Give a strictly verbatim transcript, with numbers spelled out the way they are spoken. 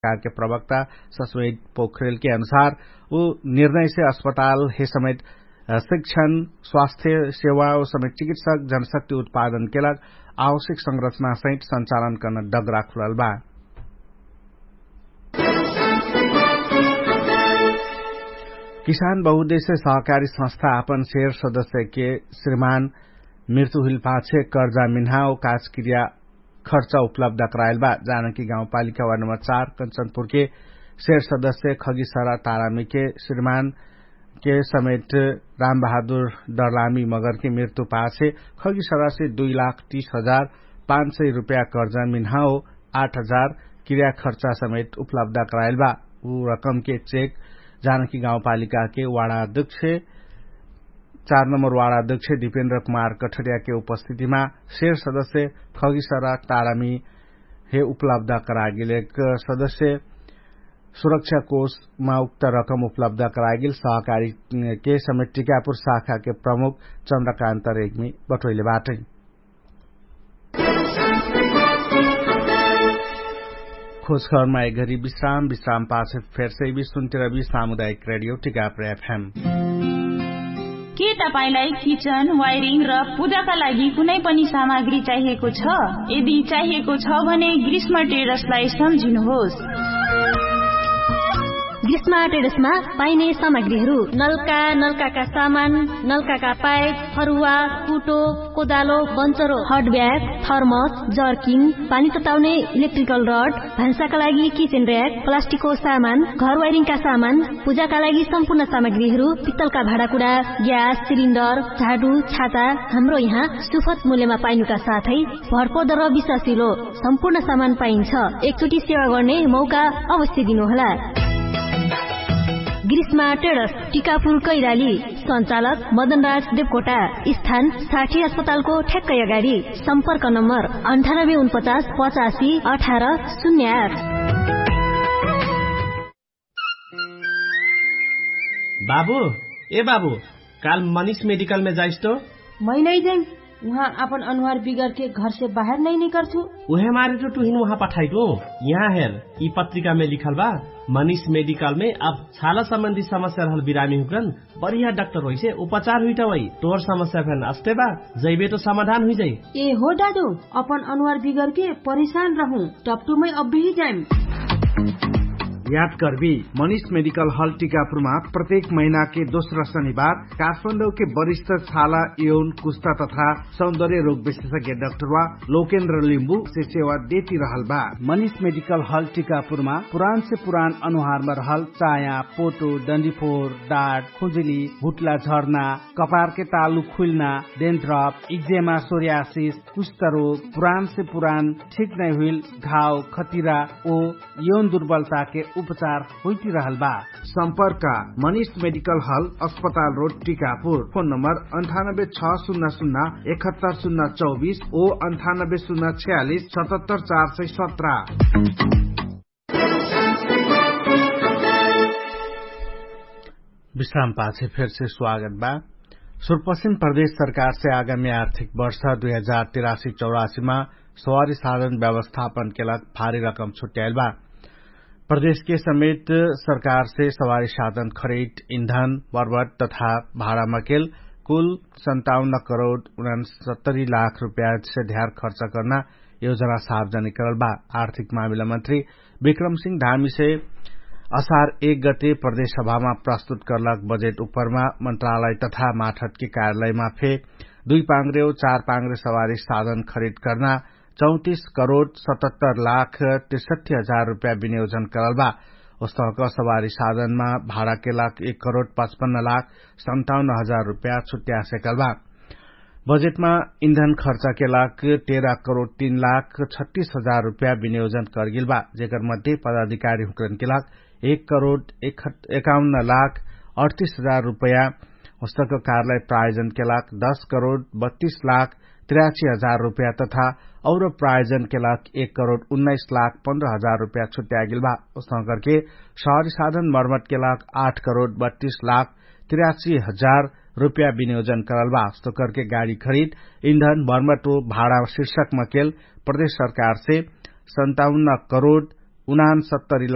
सरकारके प्रवक्ता सस्वेट पोखरेलके अनुसार उ निर्णयसे अस्पतालहे समेत शिक्षण, स्वास्थ्य सेवा उ समेत चिकित्सक जनशक्ति उत्पादनके लग आवश्यक संरचनासहित संचालन कर्न डगरा खुलल बा। किसान बहुद्देश्य सहकारी संस्था आपन शेर सदस्यके श्रीमान मृत्यु हुइल पाछे कर्जा मिन्हा उ काजक्रिया खर्चा उपलब्ध कराइल बा। जानकी गाउँपालिका वार्ड नम्बर चार कञ्चनपुरके शेर सदस्य खगिसरा तारामीके श्रीमानके समेत रामबहादुर डरलामी मगरके मृत्यु पाछे खगिसरासे दुई लाख तीस हजार पाँच सय रुपैया कर्जा मिन्हा हो आठ हजार क्रिया खर्चा समेत उपलब्ध कराइल बा। उ रकमके चेक जानकी गाउँपालिकाके वाडा अध्यक्ष चार नम्बर वाडा अध्यक्ष दिपेन्द्र कुमार कठरियाके उपस्थितिमा शेर सदस्य खगिसरा तारामी हे उपलब्ध करागेल एक सदस्य सुरक्षा कोषमा उक्त रकम उपलब्ध करागेल सहकारीके समेत टिकापुर शाखाके प्रमुख चन्द्रकान्त रेग्मी बटोइले बाटै। खोजखबरमा एक घरी विश्राम विश्राम पाछे फेरसे विश्वन्तिरवी सामुदायिक रेडियो टिकापुर एफएम। के तपाईंलाई किचन वायरिङ र पूजाका लागि कुनै पनि सामग्री चाहिएको छ? यदि चाहिएको छ भने ग्रीष्म टेरसलाई सम्झिनुहोस्। ग्रीष्म टेरसमा पाइने सामग्रीहरू नल्का नल्काका सामान, नल्काका पाइप, फरुवा, कुटो, कोदालो, बन्चरो, हट ब्याग, थर्मस, जर्किन, पानी तताउने इलेक्ट्रिकल रड, भान्साका लागि किचेन र्याक, प्लास्टिकको सामान, घर वायरिङका सामान, पूजाका लागि सम्पूर्ण सामग्रीहरू, पित्तलका भाँडाकुँडा, ग्यास सिलिन्डर, झाडु, छाता, हाम्रो यहाँ सुफत मूल्यमा पाइनुका साथै भरपर्दो र विश्वासिलो सम्पूर्ण सामान पाइन्छ। एकचोटि सेवा गर्ने मौका अवश्य दिनुहोला। ग्रीष्मा टेडस, टिकापुर कैराली। सञ्चालक मदनराज देवकोटा। स्थान साठी अस्पतालको ठ्याक्कै अगाडि। सम्पर्क नम्बर अन्ठानब्बे उनपचास पचासी अठार शून्य आठ। बाबु, ए बाबु, काल मनिष मेडिकलमे जाइस तो? मै नै जाइम। उहाँ आपन अनुहार बिगरके घरसे बाहेर नै निकर्छु। उहे मारे तो टुहिन उहाँ पठाइटु। यहाँ हेर, यि पत्रिकामे लिखल बा, मनिष मेडिकलमे अब छाला सम्बन्धी समस्या रहल बिरामी हुक्रन बढिया डाक्टर होइसे उपचार हुइटा वै। तोर समस्या फेन अस्ते बा, जैबे तो समाधान हुइजाइ। ए हो दादु, अपन अनुहार बिगरके परेशान रहु, टप्टुमै अब्बेही जाइम। याद करबी, मनिष मेडिकल हल टिकापुरमा प्रत्येक महिनाके दोस्रा शनिबार काठमाडौके वरिष्ठ छाला यौन कुस्ता तथा सौन्दर्य रोग विशेषज्ञ डाक्टरवा लोकेन्द्र लिम्बु से सेवा देती रहल बा। मनिष मेडिकल हल टिकापुरमा पुरान से पुरान अनुहारमा रहल चाया, पोटो, डन्डीफोर, डाट, खुजुली, भुट्ला झर्ना, कपारके तालु खुइल्ना, डेन्ड्रप, इक्जेमा, सोरियासिस, कुष्ठरोग, पुरान से पुरान ठिक नै हुइल घाव, खतिरा ओ यौन दुर्बलताके उपचार होइतिरहल बा। सम्पर्क मनिष मेडिकल हल, अस्पताल रोड, टिकापुर। फोन नम्बर अन्ठानब्बे छ सुन्ना सुन्ना एकहत्तर सुन्ना चौबिस ओ अन्ठानब्बे सुन्ना छयालिस सतहत्तर चार सय सत्र। विश्राम पाछे फेरसे स्वागत बा। सुरपश्चिम प्रदेश सरकारसे आगामी आर्थिक वर्ष दुई हजार तिरासी चौरासीमा सवारी साधन व्यवस्थापनके लाग भारी रकम छुट्याइल बा। प्रदेशके समेत सरकारसे सवारी साधन खरिद, इन्धन, मर्वत तथा भाडामकेल कुल सन्ताउन्न करोड उनसत्तरी लाख रुपयासे ध्यार खर्च कर्ना योजना सार्वजनिक करल बा। आर्थिक मामिला मन्त्री विक्रम सिंह धामीसे असार एक गते प्रदेश सभामा प्रस्तुत करलक बजेट उपरमा मन्त्रालय तथा माठतके कार्यालयमा फे दुई पाङ्ग्रेव चार पाङ्ग्रे सवारी साधन खरिद कर्ना चौतिस करोड सतहत्तर लाख तिरसठी हजार रुपया विनियोजन करल बा। ओस्तहक सवारी साधनमा भाडाके लाख एक करोड पचपन्न लाख सन्ताउन्न हजार रुपया छुट्यासेकल बा। बजेटमा इन्धन खर्चाके लाग तेह्र करोड तीन लाख छत्तीस हजार रुपया विनियोजन करगेल बा। जेकर मध्ये पदाधिकारी हुक्रनके लाग एक करोड एकाउन्न लाख अडतिस हजार रुपया, होस्तक कारलाई प्रायोजनके लाग दस करोड बत्तिस लाख तिरासी हजार रुपया तथा और प्रायोजनके लाग एक करोड उन्नाइस लाख पन्ध्र हजार रुपया छुट्यागेल बा। होस्तक करके सहरी साधन मर्मटके लाग आठ करोड बत्तिस लाख तिरासी हजार रुपया विनियोजन करल बा। होस्तक करके गाडी खरिद इन्धन मर्मट ओ भाडा शिर्षक मकेल प्रदेश सरकारसे सन्ताउन्न करोड उनान सत्तरी